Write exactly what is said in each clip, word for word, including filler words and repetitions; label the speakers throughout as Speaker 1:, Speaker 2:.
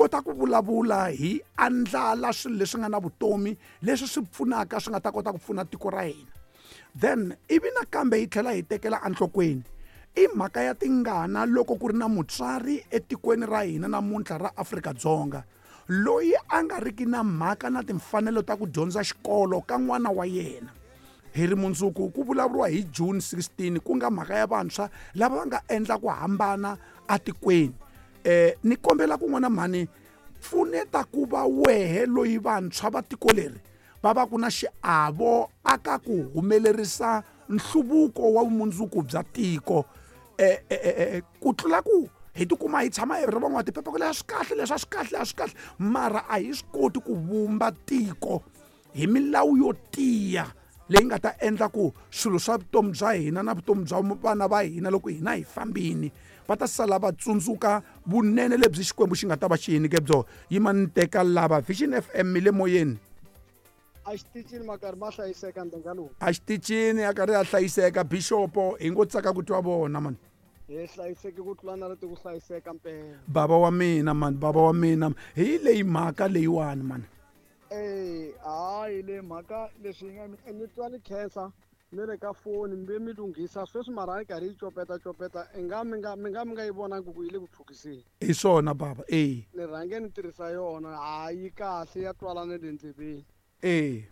Speaker 1: kota ku vulavula hi andlala swilo leswi nga na vutomi leswi swi pfunaka swi nga ta kota ku pfuna tiko ra hina. Then ivi nakambe hi tlhela hi tekela enhlokweni i mhaka ya tingana loko ku ri na mutswari etikweni ra hina namuntlha ra Afrika-Dzonga loyi a nga riki na mhaka na timfanelo ta ku dyondza xikolo ka n'wana wa yena. Hi ri mundzuku ku vulavuriwa hi June sixteen ku nga mhaka ya vantshwa lava va nga endla ku hambana atikweni. Eh ni kombela ku n'wana mhani pfuneta ku va wehe loyi vantshwa va tiko leri va va ku na xiavo aka ku humelerisa nhluvuko wa vumundzuku bya tiko. Eh, eh, ku tlula ku hi tikuma hi tshama hi ri van'watiphepha ku leswi a swi kahle leswi a swi kahle a swi kahle mara a hi swi koti ku vumba tiko hi milawu yo tiya leyi nga ta endla ku swilo swa vutomi bya hina na vutomi bya vana va hina loko hina hi fambini va ta sala va tsundzuka vunene lebyi Xikwembu xi nga ta va xi hi nyike byona. Yima ni teka lava Vision F M mi le moyeni.
Speaker 2: A xitichini makarhi ma hlayiseka ndlela lowu.
Speaker 1: A xitichini a karhi a hlayiseka bishopo hi ngo tsaka ku twa vona man.
Speaker 2: Hi hlayiseke ku tlula na leti ku hlayiseka mpela.
Speaker 1: Baba wa mina man, baba wa mina hi leyi mhaka leyiwani man.
Speaker 2: Eh hayi le mhaka leswi nga ni twa ni khensa ni le ka foni mi mi lunghisa sweswi mara yi karhi yi copeta copeta i nga mi nga mi nga mi nga yi vonangi ku yi le ku tlhukiseni.
Speaker 1: Hi swona baba eh.
Speaker 2: Ni rhange ni tirhisa yona hayi kahle ya twala na le ndleveni.
Speaker 1: Eh.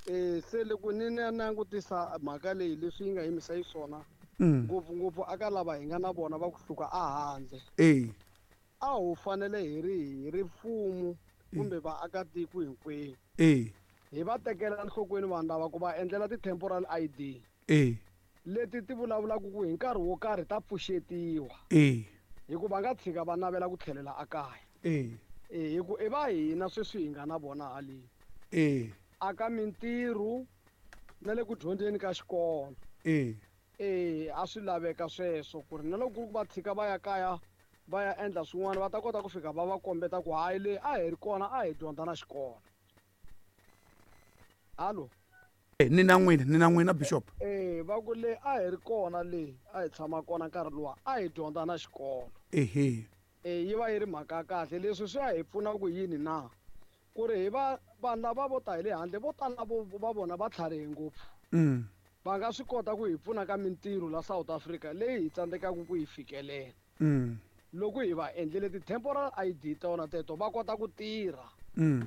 Speaker 2: Eh se loko ni ni langutisa mhaka leyi leswi yi nga yimisa yi swona ngopfu ngopfu aka lava hi nga na vona va kusuka a handle.
Speaker 1: Eh.
Speaker 2: A wu fanele hi ri hi ri mfumo kumbe vaakatiko hinkwenu.
Speaker 1: Eh.
Speaker 2: Hi va tekela enhlokweni vanhu lava ku va endlela ti-temporal I D.
Speaker 1: Eh.
Speaker 2: Leti ti vulavulaka ku hi nkarhi wo karhi ta pfuxetiwa.
Speaker 1: Eh.
Speaker 2: Hikuva nga tshika va navela ku tlhelela ekaya.
Speaker 1: Eh.
Speaker 2: Eh hi ku i va hina sweswi hi nga na vona haleni.
Speaker 1: Eh.
Speaker 2: Aka mintirho na le ku dyondzeni ka xikolo.
Speaker 1: Eh.
Speaker 2: Eh a swi laveka sweswo ku ri na loko ku va tshika va ya kaya va ya endla swin'wana va ta kota ku fika va va kombeta ku hayi le a hi ri kona a hi dyondza na xikolo. Hallo.
Speaker 1: Ni na n'wina ni na n'wina bishop.
Speaker 2: Eh va ku le a hi ri kona le a hi tshama kona nkarhi luwa a hi dyondza na xikolo.
Speaker 1: Ehe.
Speaker 2: Eh yi va yi ri mhaka kahle leswi swi ya hi pfuna ku yini na ku ri hi va vanhu lava vo ta hi le handle vo tala vo va vona va tlharihe ngopfu.
Speaker 1: Mm.
Speaker 2: Va nga swi kota ku hi pfuna ka mintirho la South Africa leyi hi tsandzekaka ku yi fikelela.
Speaker 1: Mm.
Speaker 2: Loko hi va endlele ti-temporal I D tona teto va kota ku tirha.
Speaker 1: Mm.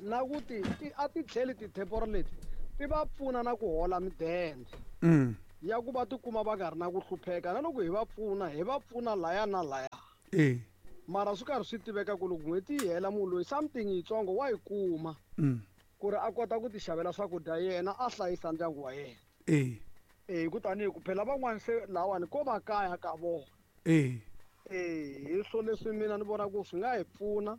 Speaker 2: Na ku ti, ti a ti tlheli ti-temporal leti ti va pfuna na ku hola midende.
Speaker 1: Mm.
Speaker 2: Ya ku va tikuma va nga ri na ku hlupheka na loko hi va pfuna hi va pfuna laya na laya.
Speaker 1: Eh.
Speaker 2: Mara swi karhi swi tiveka ku loko n'hweti yi hela munhu loyi something yitsongo wa yi kuma.
Speaker 1: Mm.
Speaker 2: Ku ri a kota ku ti xavela swakudya yena a hlayisa ndyangu wa yena.
Speaker 1: Eh.
Speaker 2: Eh ku tanihi ku phela van'wani se lawani ko va kaya ka vona.
Speaker 1: Eh.
Speaker 2: Eh hi swo leswi mina ni vona ku swi nga hi pfuna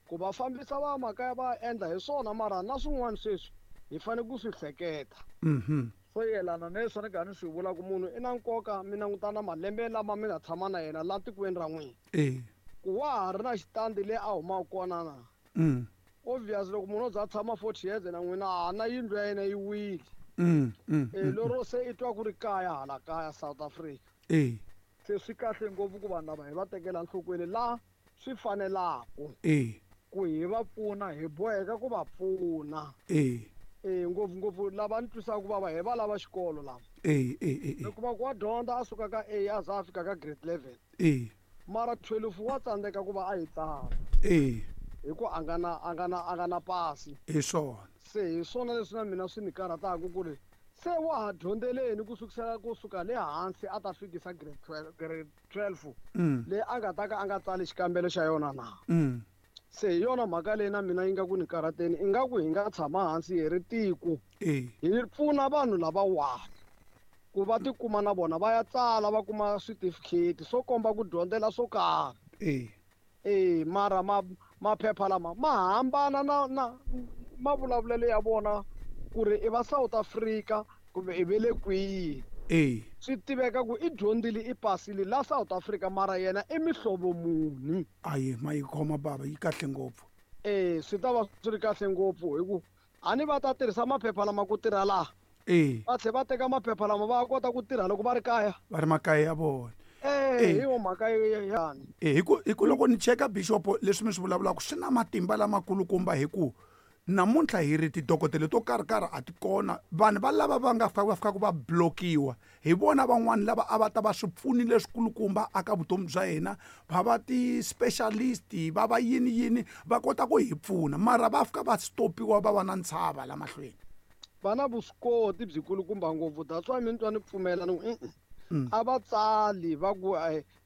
Speaker 2: ku va fambisa va makaya va endla hi swona mara na swin'wana sweswi hi fanele ku swi hleketa.
Speaker 1: Mhm.
Speaker 2: Swo yelana na leswi ni karhi ni swi vula ku munhu i na nkoka mi languta na malembe lama mi nga tshama na yena la tikweni ra n'wina.
Speaker 1: Eh.
Speaker 2: Ku wa ha ri na xitandi le a humaka kona na.
Speaker 1: Mm.
Speaker 2: Obvious loko munhu o za a tshama forty years na n'wina a na yindlu ya yena yi wile.
Speaker 1: Mm, mm,
Speaker 2: Eh, lero se i twa ku ri kaya hala kaya South Africa.
Speaker 1: Eh.
Speaker 2: Se swi kahle ngopfu ku vanhu lava hi va tekela enhlokweni la swi fanelaka.
Speaker 1: Eh.
Speaker 2: Ku hi va pfuna hi boheka ku va pfuna.
Speaker 1: Eh.
Speaker 2: Eh ngopfu ngopfu lava ni twisaka ku vava hi va lava xikolo lava.
Speaker 1: Eh, eh, eh, eh.
Speaker 2: Ni kuma ku wa dyondza a suka ka A a za a fika ka grade eleven.
Speaker 1: Eh.
Speaker 2: Mara twelve wa tsandzeka ku va a yi tsala.
Speaker 1: Eh.
Speaker 2: Hi ku a nga na, a nga na, a nga na pasi.
Speaker 1: Hi swona.
Speaker 2: Se hi swona leswi na mina swi ni karhataka ku ri se wa ha dyondzeleni ku sukisela kusuka le hansi a ta fikisa grade twelve, grade twelve.
Speaker 1: Mm.
Speaker 2: Leyi a nga ta ka a nga tsali xikambelo xa yona na.
Speaker 1: Mm.
Speaker 2: Se hi yona mhaka leyi na mina yi nga ku ni karhateni ingaku hi nga tshama hansi hi ri tiko.
Speaker 1: Eh.
Speaker 2: Hi pfuna vanhu lavawani ku va tikuma na vona va ya tsala va kuma switifikheti swo komba ku dyondzela swo karhi.
Speaker 1: Eh.
Speaker 2: Eh, mara ma, maphepha lama ma hambana na, na mavulavulelo ya vona ku ri i va South Africa kumbe i ve le kwihi.
Speaker 1: Eh.
Speaker 2: Swi tiveka ku i dyondzile i pasile la South Africa mara yena i mihlovo muni.
Speaker 1: Ayi ma yi khoma baba yi kahle ngopfu.
Speaker 2: Eh, swi ta va swi ri kahle ngopfu hi ku a ni va ta tirhisa maphepha lama ku tirha laha.
Speaker 1: Eh.
Speaker 2: Va tlhe va teka maphepha lama va kota ku tirha loko va ri kaya.
Speaker 1: Va ri makaya ya vona.
Speaker 2: Eh, hi yo mhaka yani.
Speaker 1: Eh, hi ku hi ku loko ni cheka bishop leswi mi swi vulavulaka swi na matimba lamakulukumba hi ku namuntlha hi ri tidokodela to karhi karhi a ti kona vanhu va lava va nga fika va fikaka va blokiwa hi vona van'wani lava a va ta va swipfuni leswikulukumba aka vutomi bya hina va va ti-specialist va va yini yini va kota ku hi pfuna mara va fika va stopiwa va va na ntshava la mahlweni
Speaker 2: va na vuswikoti byikulukumba ngopfu that's why mi ni twa ni pfumela ni ku a va tsali va ku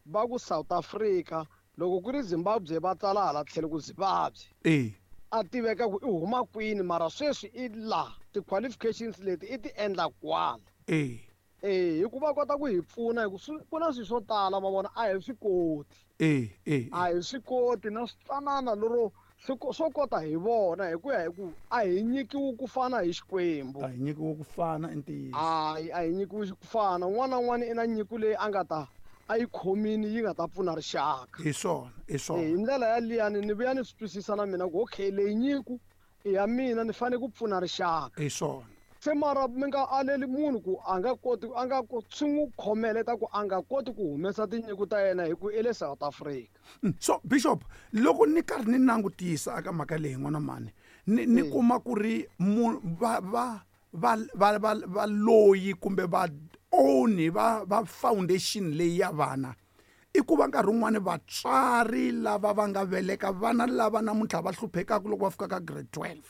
Speaker 2: va ku South Africa loko ku ri Zimbabwe va tsala hala tlhelo ku Zimbabwe
Speaker 1: eh
Speaker 2: a tiveka ku i huma kwini mara sweswi i la ti-qualifications leti i ti endla kwala
Speaker 1: eh
Speaker 2: eh hikuva kota ku hi pfuna hi ku ku na swilo swo tala ma vona a hi swi koti
Speaker 1: eh eh
Speaker 2: a hi swi koti na switsanana lero swo kota hi vona hi ku ya hi ku a hi nyikiwi ku fana hi Xikwembu
Speaker 1: a hi nyikiwi ku fana i ntiyiso
Speaker 2: hayi a hi nyikiwi ku fana un'wana na un'wana i na nyiko leyi a nga ta a yi khomini yi nga ta pfuna rixaka
Speaker 1: hi swona hi swona
Speaker 2: hi ndlela yaliyani ni vuya ni swi twisisa na mina ku okay leyi nyiko i ya mina ni fanele ku pfuna rixaka
Speaker 1: hi swona
Speaker 2: se mara mi nga aleli munhu ku a nga koti a nga swi n'wi khomeleta ku a nga koti ku humesa tinyiko ta yena hi ku i le South Africa
Speaker 1: so bishop loko ni karhi ni langutisa aka mhaka leyi n'wana mani ni ni kuma ku ri va va va va va valoyi kumbe va oni va va foundation leyi ya vana i ku va nkarhi wun'wani vatswari lava va nga veleka vana lava namuntlha va hluphekaka loko va fika ka grade twelve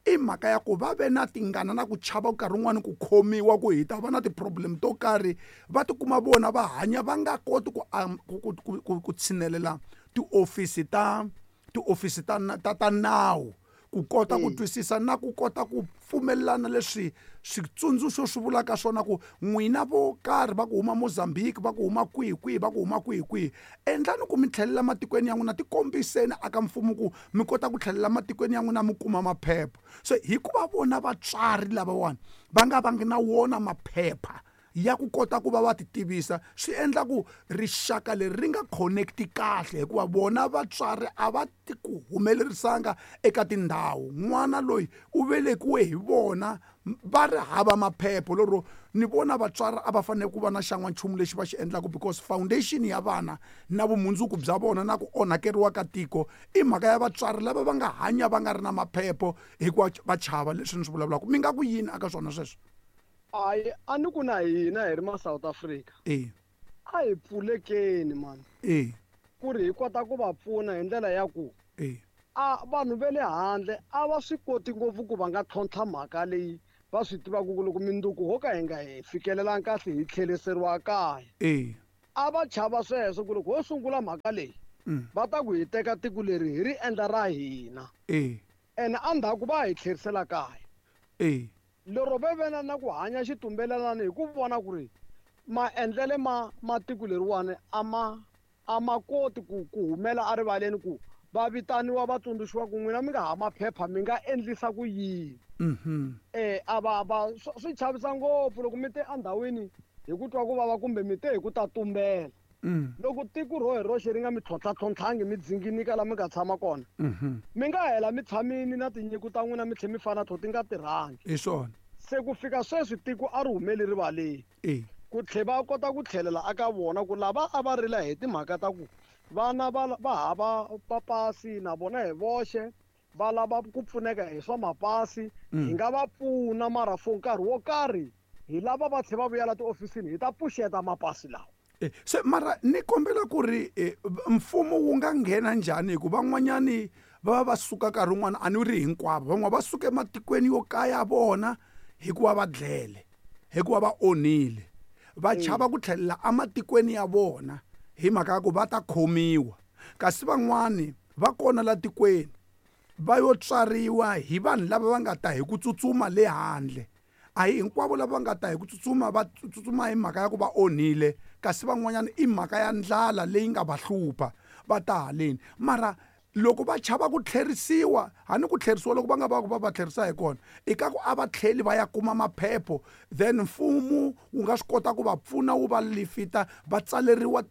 Speaker 1: i mhaka ya ku va ve na tingana na ku chava nkarhi wun'wani ku khomiwa ku hi ta va na ti-problem to karhi va tikuma vona va hanya va nga koti ku ku ku ku tshinelela tiofisi ta tiofisi ta ta ta nawu ku kota ku twisisa na ku kota ku pfumelelana leswi switsundzuxo swi vulaka swona ku n'wina vo karhi va ku huma Mozambique va ku huma kwihi kwihi va ku huma kwihi kwihi endlani ku mi tlhelela matikweni ya n'wina tikombiseni aka mfumo ku mi kota ku tlhelela matikweni ya n'wina mi kuma maphepha so hikuva vona vatswari lavawani va nga vangi na wona maphepha ya ku kota ku va va ti tivisa swi endla ku rixaka leri ri nga connecti kahle hikuva vona vatswari a va ti ku humelerisanga eka tindhawu n'wana loyi u velekiwe hi vona va ri hava maphepha lero ni vona vatswari a va fanele ku va na xan'wanchumu lexi va xi endlaka because foundation ya vana na vumundzuku bya vona na ku onhakeriwa ka tiko i mhaka ya vatswari lava va nga hanya va nga ri na maphepha hikuva va chava leswi ni swi vulavulaka mi nga ku yini aka swona sweswo
Speaker 2: hayi a ni ku na hina hi ri ma South Africa
Speaker 1: eh
Speaker 2: a hi pfulekeni mani
Speaker 1: eh
Speaker 2: ku ri hi kota ku va pfuna hi ndlela ya ku
Speaker 1: eh
Speaker 2: a vanhu va le handle a va swi koti ngopfu ku va nga tlhontlha mhaka leyi va swi tivaka ku loko minduku ho ka hi nga hi fikelelangi kahle hi tlheriseriwa kaya
Speaker 1: eh
Speaker 2: a va chava sweswo ku loko ho sungula mhaka leyi va ta ku hi teka tiko leri hi ri endla ra hina
Speaker 1: eh
Speaker 2: ene endzhaku va hi tlherisela kaya
Speaker 1: eh
Speaker 2: lero ve vena na ku hanya xitumbelelani hi ku vona ku ri maendlele ma matiko leriwani a ma a ma koti ku ku humela erivaleni ku va vitaniwa va tsundzuxiwa ku n'wina mi nga ha maphepha mi nga endlisa ku yini
Speaker 1: mhm
Speaker 2: eh a va va swi chavisa ngopfu loko mi te endhawini hi ku twa ku vava kumbe mi te hi ku ta tumbela loko tiko ro hi roxe ri nga mi tlhontlha-tlhontlhangi mi dzinginika la mi nga tshama kona mi nga hela mi tshamini na tinyiko ta n'wina mi tlhe mi fana to ti nga tirhangi
Speaker 1: hi swona
Speaker 2: se ku fika sweswi tiko a ri humeli rivaleni
Speaker 1: eh
Speaker 2: ku tlhe va kota ku tlhelela aka vona ku lava a va rila hi timhaka ta ku vana va va hava papasi na vona hi voxe va lava ku pfuneka hi swa mapasi hi nga va pfuna mara for nkarhi wo karhi hi lava va tlhe va vuyela tiofisini hi ta pfuxeta mapasi lawa
Speaker 1: se mara ni kombela ku ri mfumo wu nga nghena njhani hikuva van'wanyani va va va suka nkarhi wun'wana a ni ri hinkwavo van'wana va suka ematikweni yo kaya vona hikuva va dlele hikuva va onhile va chava ku tlhelela ematikweni ya vona hi mhaka ya ku va ta khomiwa kasi van'wani va kona la tikweni va yo tswariwa hi vanhu lava va nga ta hi ku tsutsuma le handle a hi hinkwavo lava nga ta hi ku tsutsuma va tsutsuma hi mhaka ya ku va onhile kasi van'wanyana i mhaka ya ndlala leyi nga va hlupha va ta haleni mara loko va chava ku tlherisiwa hani ku tlherisiwa loko va nga va ku va va tlherisa hi kona i ka ku a va tlheli va ya kuma maphepho then mfumo wu nga swi kota ku va pfuna wu va lifita va tsaleriwa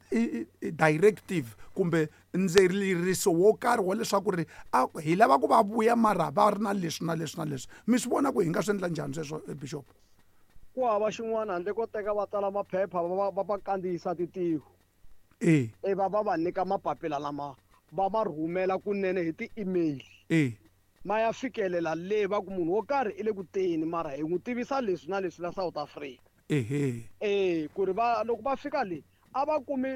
Speaker 1: directive kumbe ndzeriso wo karhi wa leswaku ri a hi lava ku va vuya mara va ri na leswi na leswi na leswi mi swi vona ku hi nga swi endla njhani sweswo bishop
Speaker 2: ku hava xin'wana handle ko teka va tsala maphepha va va va kandziyisa titiko
Speaker 1: E.
Speaker 2: E va va va nyika mapapila lama va ma rhumela kunene hi ti-email.
Speaker 1: E.
Speaker 2: Ma ya fikelela le va ku munhu wo karhi i le ku teni mara hi n'wi tivisa leswi na leswi la South Africa.
Speaker 1: Ehe.
Speaker 2: E ku ri va loko va fika le a va kumi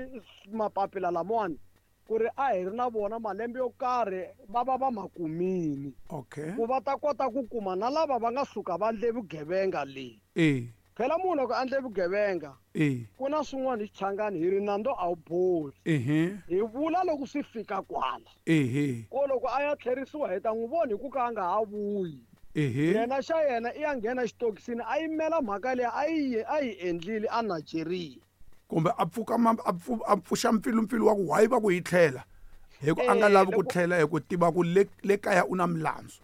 Speaker 2: mapapila lamawani ku ri a hi ri na vona malembe yo karhi va va va ma kumini.
Speaker 1: Okay.
Speaker 2: Ku va ta kota ku kuma na lava va nga suka va endle vugevenga le.
Speaker 1: E.
Speaker 2: Phela munhu loko a endle vugevenga
Speaker 1: E.
Speaker 2: ku na swin'wana hi Xichangani hi ri nandzu a wu boli.
Speaker 1: Ehe.
Speaker 2: Hi vula loko swi fika kwala.
Speaker 1: Ehe.
Speaker 2: Ko loko a ya tlherisiwa hi ta n'wi vona hi ku ka a nga ha vuyi.
Speaker 1: Ehe.
Speaker 2: Yena xa yena i ya nghena xitokisini a yimela mhaka leyi a yi a yi endlile a Nigeria.
Speaker 1: Kumbe a pfuka a a pfuxa mpfilumpfilu wa ku why va ku yi tlhela hi ku a nga lavi ku tlhela hi ku tiva ku le le kaya u na milandzu.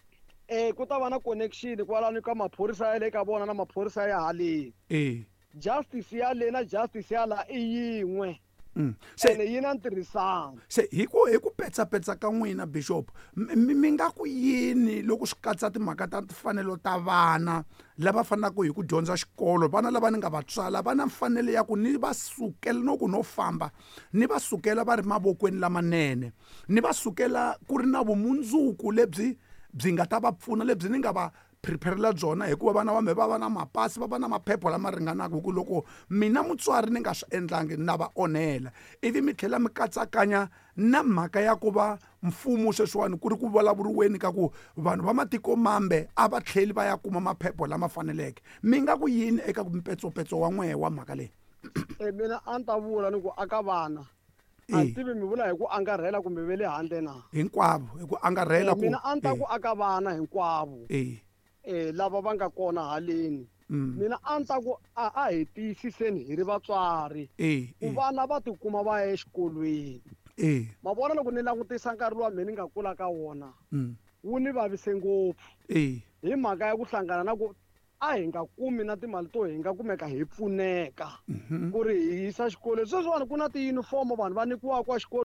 Speaker 2: Eh ku ta va na connection kwalano ka maphorisa ya le ka vona na maphorisa ya haleni.
Speaker 1: Eh.
Speaker 2: Justice ya le na justice ya la i yin'we.
Speaker 1: Mm.
Speaker 2: Se ene yi na ntirhisano.
Speaker 1: Se hi ku hi ku petsapetsa ka n'wina Bishop mi nga ku yini loko swi katsa timhaka ta timfanelo ta vana lava fanelaka hi ku dyondza xikolo, vana lava ni nga va tswala va na mfanelo ya ku ni va sukela no ku no famba ni va sukela va ri mavokweni lamanene, ni va sukela ku ri na vumundzuku lebyi byi nga ta va pfuna lebyi ni nga va preparela byona hikuva vana va me va va na mapasi va va na maphepha lama ringanaka hi ku loko mina mutswari ni nga swi endlangi na va onhela. Ivi mi tlhela mi katsakanya na mhaka ya ku va mfumo sweswiwani ku ri ku vulavuriweni ka ku vanhu va matiko mambe a va tlheli va ya kuma maphepha lama faneleke. Mi nga ku yini eka mpetsopetso wa n'wehe wa mhaka leyi?
Speaker 2: E mina a ni ta vula ni ku aka vana a tivi mi vula hi ku angarhela kumbe ve le handle na
Speaker 1: hinkwavo hi ku angarhela ku
Speaker 2: mina a ni ta ku aka vana hinkwavo
Speaker 1: e
Speaker 2: eh lava va nga kona haleni.
Speaker 1: Mm.
Speaker 2: Mina a ni ta ku a a hi tiyisiseni hi ri vatswari
Speaker 1: e
Speaker 2: ku vana va tikuma va ya exikolweni.
Speaker 1: E.
Speaker 2: Ma vona loko ni langutisa nkarhi lowa mina ni nga kula ka wona
Speaker 1: mm.
Speaker 2: wu ni vavise ngopfu
Speaker 1: e.
Speaker 2: hi mhaka ya ku hlangana na ku a hi nga kumi na timali to hi nga kumeka hi pfuneka
Speaker 1: mm -hmm.
Speaker 2: ku ri hi yisa xikolweni. Sweswiwani ku na tiyunifomo vanhu va nyikiwaka exikolweni.